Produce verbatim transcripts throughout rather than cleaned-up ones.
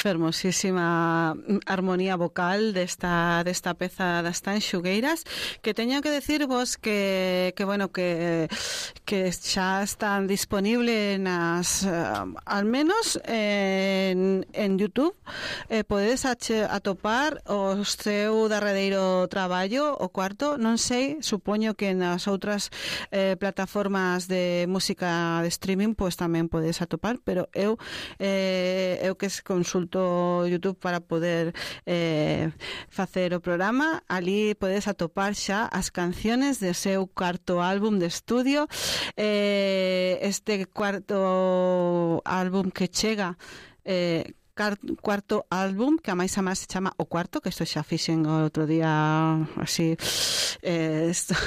fermosísima armonía vocal desta, desta peza das Tanxugueiras, que teño que decirvos que, que bueno, que, que xa están disponible nas, uh, al menos en, en YouTube, eh, podedes ache, atopar o seu darredeiro traballo, o cuarto, non sei, supoño que nas outras eh, plataformas de música de streaming pois tamén podedes atopar, pero eu eh, eu que consulto YouTube para poder eh, facer o programa, ali podedes atopar xa as canciones de seu cuarto álbum de estudio, eh, este cuarto álbum que chega eh, cuarto álbum, que a máis a máis se chama O Cuarto, que isto xa fixen o outro día así eh, esto,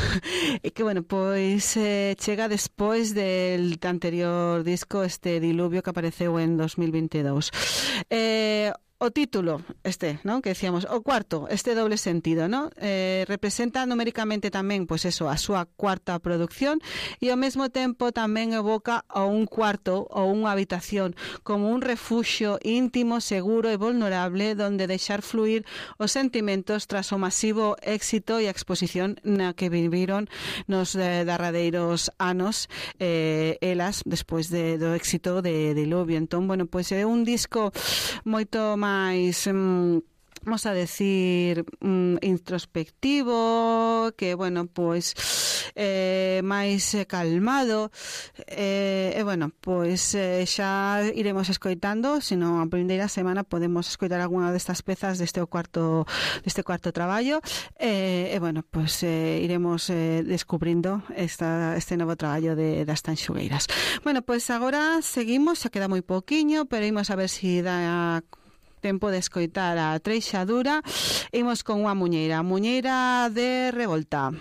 e que bueno, pois eh, chega despois del anterior disco, este Diluvio, que apareceu en dos mil veintidós. eh O título, este, ¿no?, que decíamos, O Cuarto, este doble sentido, ¿no? Eh, representa numéricamente tamén, pois pues eso, a súa cuarta producción, e ao mesmo tempo tamén evoca a un cuarto ou unha habitación como un refuxio íntimo, seguro e vulnerable donde deixar fluir os sentimentos tras o masivo éxito e a exposición na que viviron nos eh, darradeiros anos eh, elas despois de, do éxito de Diluvio. Entón, bueno, pois pues é un disco moito máis máis, um, vamos a decir, um, introspectivo, que, bueno, pois eh, máis calmado, e, eh, bueno, pois eh, xa iremos escoitando, senón a primeira semana podemos escoitar algunha destas pezas deste cuarto deste cuarto traballo, e, eh, eh, bueno, pois eh, iremos eh, descubrindo esta, este novo traballo de, das Tanxugueiras. Bueno, pois agora seguimos, xa queda moi pouquiño, pero imos a ver se si dá tempo de escoitar a Treixadura. Imos con unha muñeira, muñeira de Revolta.